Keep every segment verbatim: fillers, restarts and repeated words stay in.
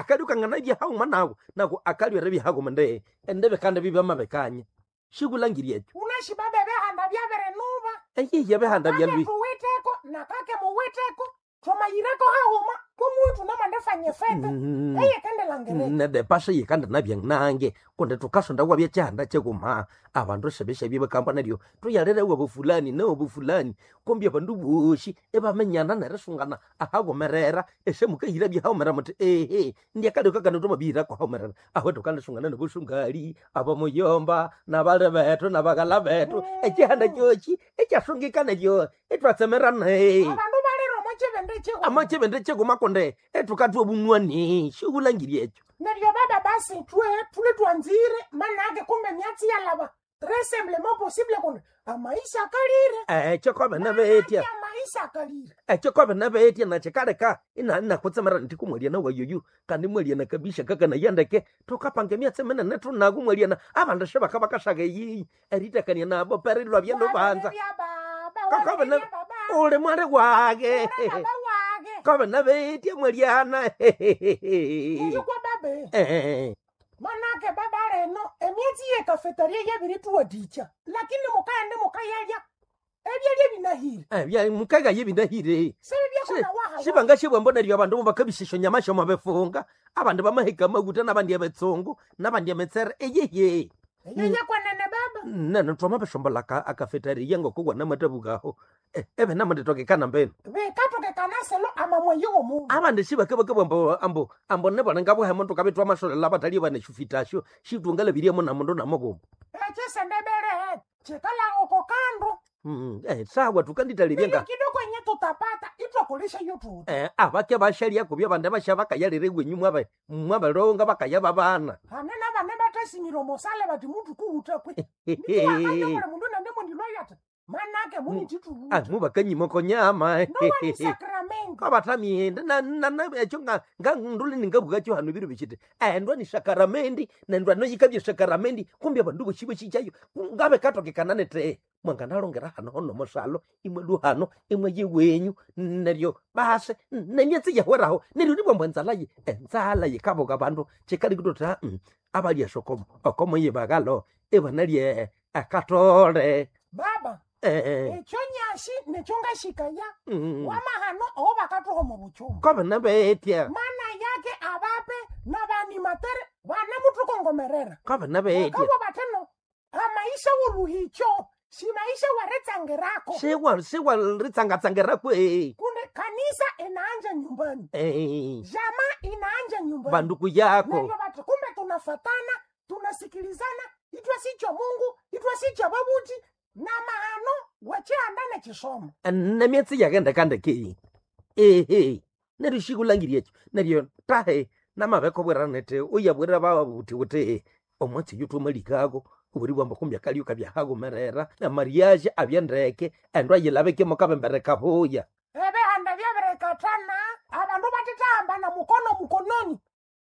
Akalyo kanganabya hauma nawo nako akalyo eribya haguma nde endebe kandi bibamabekanya shikulangirya ekyo Unashi baba ebihanda byabirinuba. Eyihi ebihanda Kake byalwi tuwiteko na kake muwiteko twamayireko hahuma kwomuntu namandefanya fete Mm. eyekendelangireka nedepasha yikandi nabyanange kundi tukasonda wabya kyihanda kyikuma abandu sebeshabye bakamba neryo tuyalere wabo fulani newobo fulani kumbi abandu boshi ebamenyana nerisungana ahagomerera esemukahira byahaumerera muti ehe ndiakalioka kano twamabihira kwahaumerera aho tukandisungana nobusungali abamuyomba nabali bethu nabaghala bethu ekyihanda kyoki ekyasungikana kyo etwatsemerana Abandu balire omo kibindi kihuma. amakyibindi kyikuma kundi etukatwa obunywani shikulangirya ekyo Neryo baba basi twe tule twanzire manake kumbe myatsi yalaba très simplement possible kundi amaisha akalire ekyo kwabene betya Manake amaisha akalire ekyo kwabene betya nakyikaleka ina inakutsemera nti kumwaliana wayoyu kandi mwaliana kabisa kakanayandeke tukapanga emyatsi minene tunaku mwaliana abandu shibaka bakashaga eyiyi eritakania nabo perilwa byelubanza Wabiribya baba Kakabene- wabiribya baba uli mwali wage uli baba wage kwabene betya mwaliana Neryo kwa babe Eh, manake baba leno emyatsi yekafetaria yabirituwadikya lakini mukaende mukayalya ebyalya binahire eh, bya- mukaga yebindahire sibibyakonawahawa sibangashibwambo neryo abandu bakabisha nyama shoma befunga abandu bamaheka amaguta nabandi ebetsungu nabandi emitsere eyeye eyo yakwanene baba nene twamabeshombola akafetariya ngokugwa namatabukaho ebe namanditokekana mbenu bikatokekana selo amamweyi womundu abandu sibakabakabwa ambo ambo ambo nebona ngabuhemo tukabitwa amasolela abatali baneshufitasho shitungalabiryemo namundu namuguma ekisendebere kikala oko kandu Mm, eh, sawa tukanditalibye Nilyo nga kidogo enye tutapata itwakolisha iyo tuti eh, abake bashalya kubya abandu basha bakayalire gwenyu mwabe mwabalonga bakaya babana hane nabane batasimire omosale bati mutu kuwuta kwe nituwakanyobole mundu nande mundilwayata manake munitituwuta mubakanyimoko nyama nowani sakramenti kabatamiende ekyo nganduli ningabukakyo hano biro bikiti endwa ni sakaramendi nendwa noyikabye sakaramendi kumbi abandu boshi boshikyayo ngabe katokekana nete mwanganalongera hano hono mosalo imwe luhano imwe yiwenyu neryo base nemyatsi yahweraho neryo nibwambwa enzala ye enzala yikabuka bandu kikali kutota mm, abalya sokomo okomo yibagalo ibanalye akatole baba eh, ekyo nyashi nekyo ngashikaya mm, wamahano owo bakatuha omu buchuma kobana betya mana yake abape nabanimatere bana mutukongomerera kobana betya bakabwa bateno amaisha woluhicho simaisha waretsangirako siwa siwa ritsangatsangira kwe kunde kanisa inaanja nyumbani Eh, jamaa inaanja nyumbani banduku yako neryo bati kumbe tunafatana tunasikilizana itwe sicho mungu itwe sicho babuti na mahano wechihanda nechisomo nemyatsi yakendekandeke ehe neryo shikulangiria ekyo neryo tahe namabekobwera nete uyabwera babuti kuti omwatsi yuthumalikako obuli bwamba kumbi akalio kabyahagumerera amariage abyendeke endo ayilabekemo kabembere kabuya ebihanda byabirekatana abandu batitahambana mukono mukononi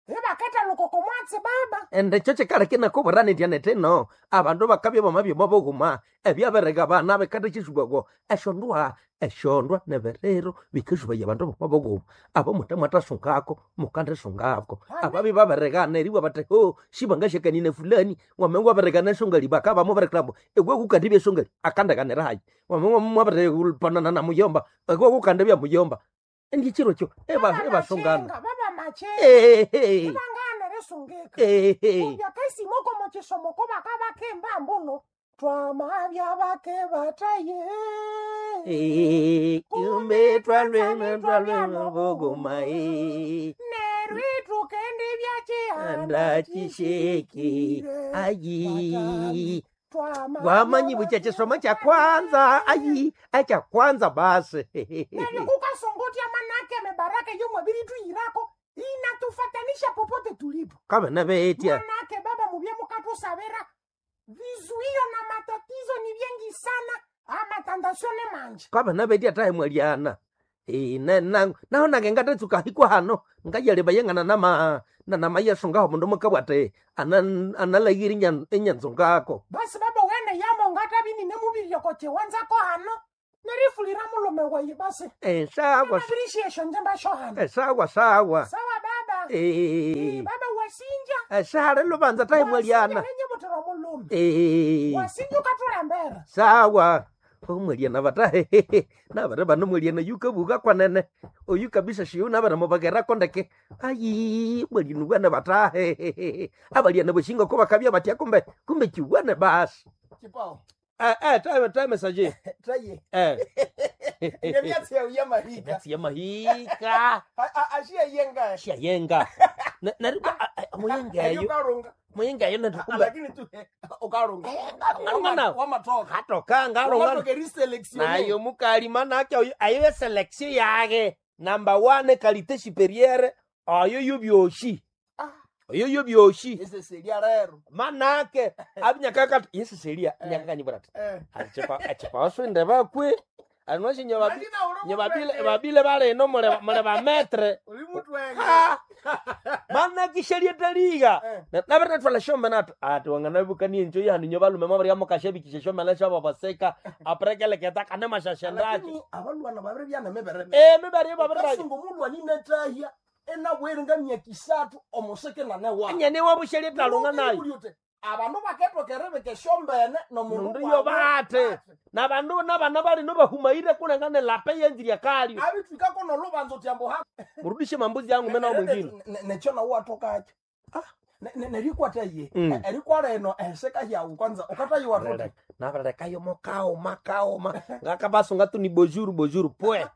ibaketa lukoko mwatsi baba ende ekyo kikaleke nakobwera nitya nete no abandu bakabya bamabyoma boghuma ebyabereka bana bikatha kyisubwako esyondwa esyondwa neberero bikasubaya abandu bama boghuma abo muthe mwathasungako mukandisungako ababi baberekana eribwa bathi ho sibangashakanine fulani wame waberekana esongali bakaba muberekerabo ewe kukandibya esongali akandekanira hayi wame mwaberepanana na muyomba ewe kukandibya muyomba endi ekiro kyo eba- ebasungana Baba baba machinga Ehe, ibangana risungika ehe. kubya kasimoko muchisomoko bakabakemba mbuno twamabya bake bataye Eh, kumbe twalwena twalwena bogoma eh, nerwitukendi byachihanda anda chisheki ayi wamanyi bucha chisomo cha kwanza ayi acha kwanza basi neryo kukasongotya manake mebaraka yomwabiri tuyirako inatufatanisha popote tulipo kabana betya manake baba mubye mukatusabira vizuio na matatizo ni vyengi sana amatandasione manje kabana betya tahe mwaliana Eh, na- na- naho nange ngatetsuka hikwa hano ngayaleba yengana nama nanamayesungaho mundu mukabwate analayiri enyanzo ngako basi baba wene yamo ngatabini nemubiri kochiwanzako hano nerifulira mulume wayi basi Eh, sawa nabirishiyesho njemba sho hano eh, sawa sawa sawa baba. Eh. Baba wasinja. Eshahali lubanza tahe mwaliana. Wasinja butira omulume. Eh. Wasinja ukatulembera. Sawa. Omwaliana batahe. Nabare bano mwaliana yukabuka kwanene. Oyu kabisa shiyo nabare mubagera kondeke. Ayi, mwaliana bwana batahe. Abaliana boshinga ko bakabya batya kumbe kumbe kiwana basi. Chipao. Eh eh time time saje. Traye. Eh. Emyatsi yawe yamahika. Emyatsi yamahika. Ashiya yenga. Ashiya yenga. Nari muyenga Eyo eyo. ukarunga. Muyenga eyo nari kumbe. Lakini tu ukarunga. Ngarunga nawo. Wamatoka. Hatoka ngarunga. Wamatoka riselection. Nayo mukali manake oyo ayo selection yage. Number one qualité supérieure oyo yobyoshi. Ah. Oyo yobyoshi. Ese seria rero. Manake abinyakaka yesu seria nyakakanyibura ati. Eh. Achipa achipa oswinde bakwe. Anwashe nyobabi Lakini uri nyobabile mutwenge. babile bale mule mule ba maître. Uri mutwenge. Ha! Manake sheria taliga. Eh. Nabere twala shombe nato ati wanganabukanie njo yanu nyo balume mabari amukashabikisha shombe na shaba baseka aprekeleketa kane mashashendacho. Lakini abalwana babiri byana mebere. Eh mibari babiri Kasungu mulwani netahya enabwere nga myaka isathu omuseke nane wa. anyane wabusheria talunga nayo. Abandu baketokere bekeshombene nomundu Mundu yo bate. Na bandu nabana bali no bahumaire kulengane lape yenziria kalyo. Abitwikako nolubanza uti ambo ha Murudishe mambuzi yangu mena mwingine. nekyo nawe watokakyo nerikwata ye Mm. erikwala eno eseka yawu kwanza ukatayiwa tuti Nabarekayo mokaoma kaoma ngakabasunga tu ni bonjour bonjour pwe.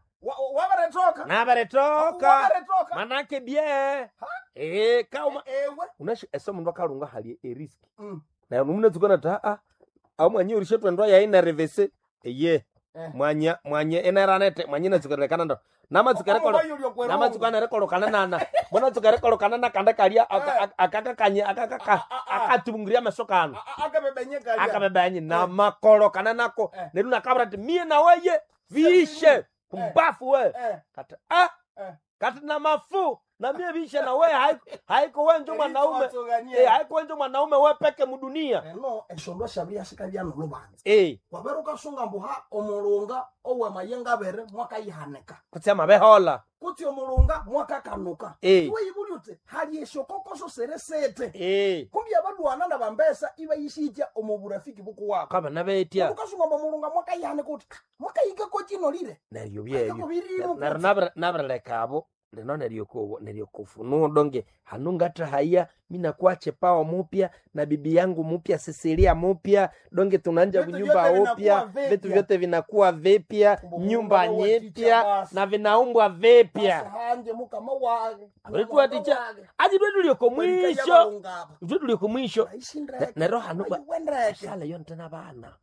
wabaretoka Nabaretoka. wabaretoka Manake bien. Eh kaoma ewe unashi ese mundu akarunga hali eriski. Mm. Na munatsuka ta a au mwanyi urishe twendwa yayi na revese eye. Eh. Mwanya mwanye eneranete mwanye natsuka ndo. Namatsuka rekolo namatsuka nerekolokana nana. Munatsuka rekolokana na kanda kalya akakakanye akakaka akatubungiria meso kano. akabebenyekalia Akabebanyi namakolokana nako. Eh. Neru nakabra ati mie na weye viishe kumbafu we. Kati ah Eh. kati na mafu na mie viishe na we haiko haiko wenjo mwanaume. Eh haiko wenjo mwanaume we peke mudunia. eno eshondo shabiri yasika nolubanza Eh wabere ukasunga mbuha omulunga owamayenga abere mwakayihanika kutsi amabehola. kutsi omulunga mwakakanuka Eh. iwe yibuli uti hali esyokokoso sere sete Eh kumbi abalwana nabambesa ibayishitya omu burafiki bukuwabo kabana betya ukasunga mbu omulunga mwakayihanika uti mwakayikako kino lire neryo byeyo. akakobirimu Neryo nabere nabereleka lino neryo ko neryo kufunudo hanu ngata haya mina kwache pao mupya na bibi yangu mupya Cecilia mupya donge tunanja Vitu nyumba vyote upya vinakuwa vipya. vitu vyote vinakuwa vipya Kumbu nyumba Mungu wa ticha nyipya basi. na vinaumbwa vipya hanje mukama wage Abalikuwa ticha aji twetulioko mwisho twetulioko mwisho Ne- neryo hanu ba- sala yonte na bana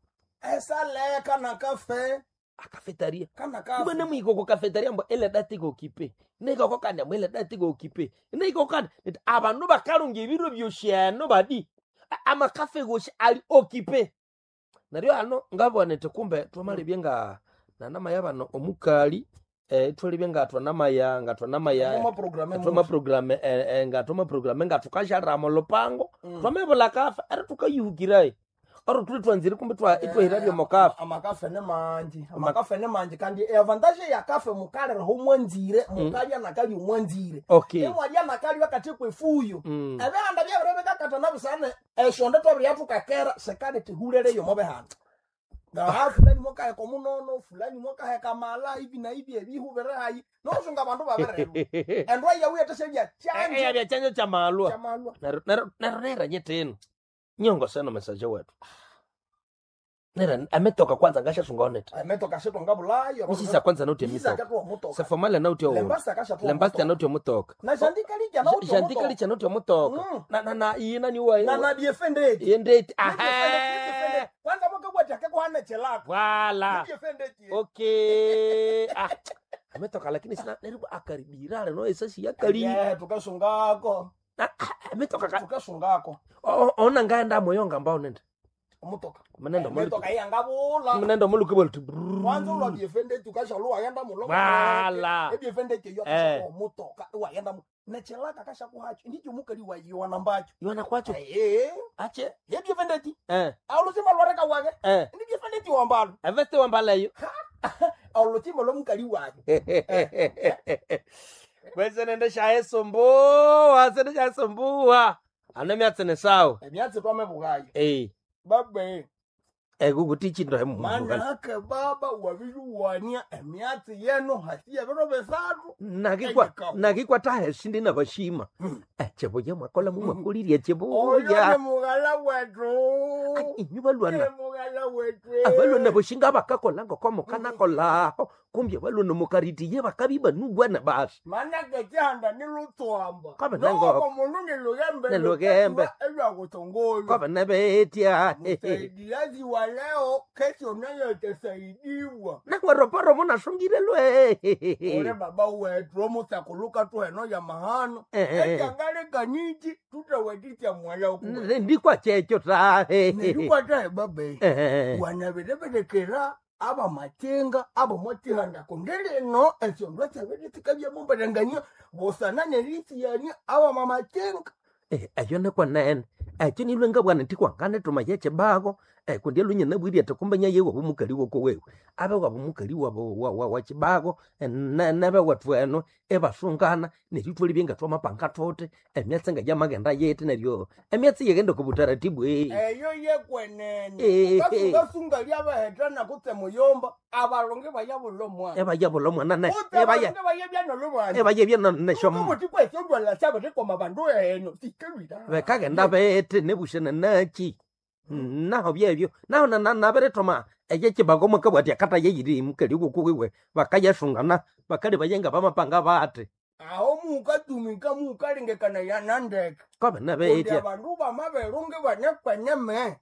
esaleka nakafe akafetaria kana kumbe kafe nemwiko kafetaria mbo ele dati gokipe nikoko mbo ele dati gokipe nikoko kandi nti abandu bakalunga ebiro byosheno badi A- amakafe goshi ali okipe neryo hano ngabona nti kumbe twamalebye nga nanamaya bano omukali eh, twalebye nga twanamaya nga twanamaya twama program eh, eh, nga twama program nga tukasharama lupango twamebula kafe eri tukayihukirayi ori tuli twanzire kumbe twa itwahira byomokafe amakafe ne manji amakafe ne manji kandi eavantage ya kafe mukaliraho mwanzire mukalya nakali mwanzire okay emwalya nakali wakati kwefuyo Mm. ebihanda byabire bikakata nabisane eshonde twabire yathukakera sekali tihulereyo mobihanda ngaha fulani mwakaheka omunono fulani mwakaheka mala ivi na ivi ebihu biri hayi nosunga abandu babirerwa endwa yawu yatesebya kyanje eyabya chanjo cha malwa kyamalwa nero nero nero nera nyeteno nyongo seno mesaje wetu nera ametoka kwanza ngashasunga onete emetoka sitonga bulayo misisa kwanza nauti emitoka akatwa omutoka sefomale nauti owo lembasi akashatwa lembasti nauti omutoka na jandikalicha nauti jandikali cha nauti omutoka Mm. na na na iye nani wa na na diefendeti iye ndeti aha kwanza mwakabwati akekuhana chelako wala diefendeti okay ah ametoka lakini sina nero akaribirale no esasi yakali Yeah, tukasungako Na- ah, ametoka ka tukasungako O- ona ngaenda moyonga mbao nenda omutoka mnenda muluki emetoka iyangabula mnenda muluki bweltu kwanza ulwa diefendeti ukashalu wagenda mulo Wala. ediefendeti eyo Eh. akashakuwa omutoka iwagenda mu nechelaka akashakuhacho ndicho mukali wayiwana mbacho iwana kwacho ee ache yediefendeti eh aulutima lwareka wage eh ndidiefendeti wambalo aveste wambalayo aulutima lwomukali wage Kwese nende shaisumbuwa sende shaisumbuwa ano myatsi ni sawa Emyatsi twamebugayo. Eh, Babe, ekukuti chinto manake baba wabiyuwania emyatsi yenu hasi yebiro bisathu. nakikwa Eyikawa. nakikwa tahesi ndi nabashima Hmm. echibuya mwakola mumwakolirya Oyo echibuya ni mughala wetu. inyu balwana Ni mughala wetu. abalwana boshinga bakakola ngoko mukanakolaho kumbi abalwana mukaritiye bakabi banugwana basi Manake chihanda ni lutswamba. Kabe nango- Noko mundu ni lugembe. Ni lugembe. Elwakutongola. kwaba nabetya Msaidiazi wa leo kesho nayo itasaidiwa. naweroporo munasungire lwe Ole baba wetu omusakuluka tuheno ya mahano. Eh. Ekyangalekanyiki tutawetitya mwala kuwe. ndikwa checho tahe Nerikwatahe babe. Eh. Wanabireberekera abamatenga abomotihanda kundi lino esyondu syabiri sikabya busana nerisiyania abamamatenga. Eh, eyo nikwenene ekyo nilwe ngabwana ntikwangane yechibago eh, kundi elunye nabwiri ati kumbenya yewe bumukali woko wewe abe wabo mukali wabo wa, wa, wa chibago eh, ne- nebe wethu eno ebasungana neryo ithwalibye nga twamapanga thuthi emyatsi nga yamagenda yiti neryo emyatsi yegenda ku butaratibu eh. Eyo yekwenene Eh. ukasungasunga lyabahethana kutse muyomba abalonge bayabula omwana ebayabula omwana ne kutse ebaya abalonge bayebyanolubanja ebayebya neshomo kubuthi kwesyondwala syabirikoma bandu eno sikelwira bekagenda bete nebushana nachi naho byebyo naho nabiritoma ekyekibago mwakabwati akata yeyiri mukali gukuwiwe bakayasungana bakali bayenga bamapanga bati aho mukatumika mukalengekana yanandeke kobe kundi nabetya abandu bamaberunge banekwenyeme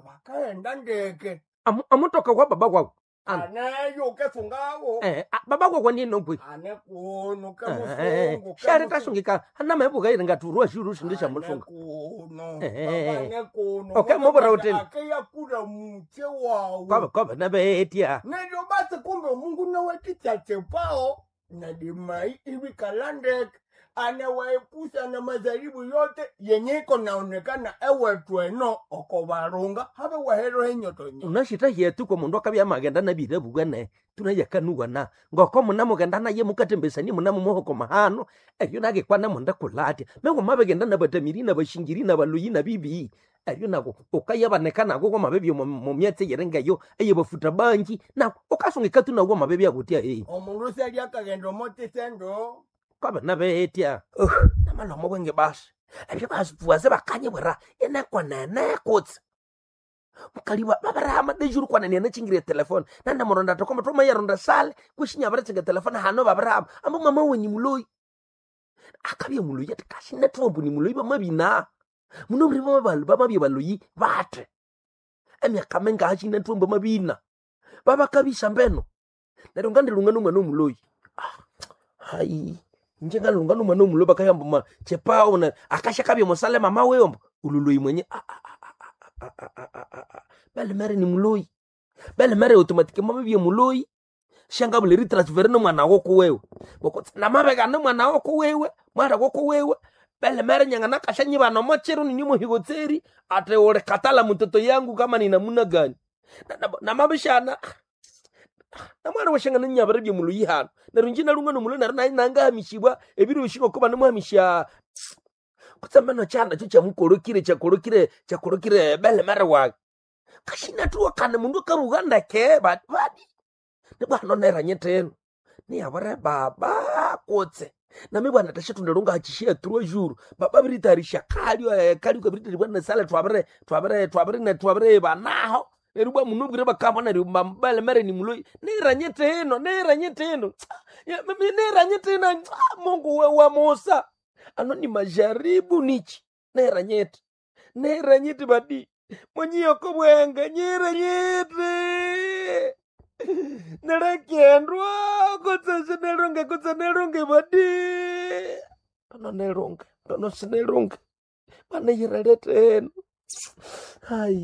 bakaghenda ndeke amutoka kwa baba wawu Ana. aneyo kesungawo Eh, a- baba wawu ninokwi ane kuno kemusungu shari tasungika anamaebukaire ngaturwa shuru sindi shamusunga kuno Eh. ane kuno Okay, mubura utini. akeyakura mutse wawu kobe kobe nabetya neryo basi kumbe omungu nowetitsatsepawo nadimai ibikala ndeke anawaepusha na majaribu yote yenye iko naonekana ewethu eno oko barunga habe wahero henyotonyo unashita hyetu ko mundu akabya magenda nabire bugane tunayakanuwana ngoko munamugenda naye mukatembesani munamumohoko mahano eryo nagikwana munda kulatya mengo mabegenda nabatamiri nabashingiri nabaloyi nabibi eryo nako ukayabaneka nako kwamabebyo mumyatsi yerengayo eyebafuta banji nako ukasungika tu nawo mabebyo akutya eh omundu syali akagenda omotisendo kwabe nabetya namalomo bwenge basi ebyo basipuwaze bakanyibwira inekwanene kutse mukaliwa babarahama dejuru kwanene yanachingire telefone nandamuronda tokoma tomayaronda sale kushinya telefone hano babarahama amba mama wenyi muloyi akabya muloyi ati kashinetwombu ni muloyi bamabina muno buri bamabalu bamabya baloyi bate emyaka minga ashinetwombu mabina babakabisha mbeno neryo ngandilunga nomwana omuloyi Ah, hayi nje ngalunga nomwana omuloyi bakayamba ma chepao na akashakabya musale mama weyombo ululoyi mwenye ah, ah, ah, ah, ah, ah, ah, ah, ah. Belemere ni muloyi belemere automatique mabibye muloyi shangabule ritransfere nomwana woko wewe bokotse namabeka nomwana woko wewe mwana woko wewe belemere nyanga nakashanyiba nomochero ninyomohigotseri ate ule katala mtoto yangu kama ni namuna gani namabishana namwana washangana nyabara bye muloyi hano neryo nje nalunga nomuloyi neryo naye nangahamishibwa ebiro bishinga kuba nimuhamisha kutsamba chana cho chamukolokire chakolokire chakolokire belemere wake kashinatuwa kana mundu akaruga ndeke badi badi nibwana neranyeteno niyabure baba kutse nami bwana tashatunda hachishia trois jours baba biritarisha kalio eh, kalio kabiritari bwana sale twabere twabere twabere ne twabere banaho neryo bwa mundu bwire bakamba neryo bale mere ni muloi neranyeteno neranyeteno neranyeteno Mungu we wa Musa ano ni majaribu nichi neranyete neranyete badi mwenyiyoko bwenga nyeranyete nelekendwa kutse sinelunge kutse nelunge badi tono nelunge tono sinelunge bana yireleteno hayi.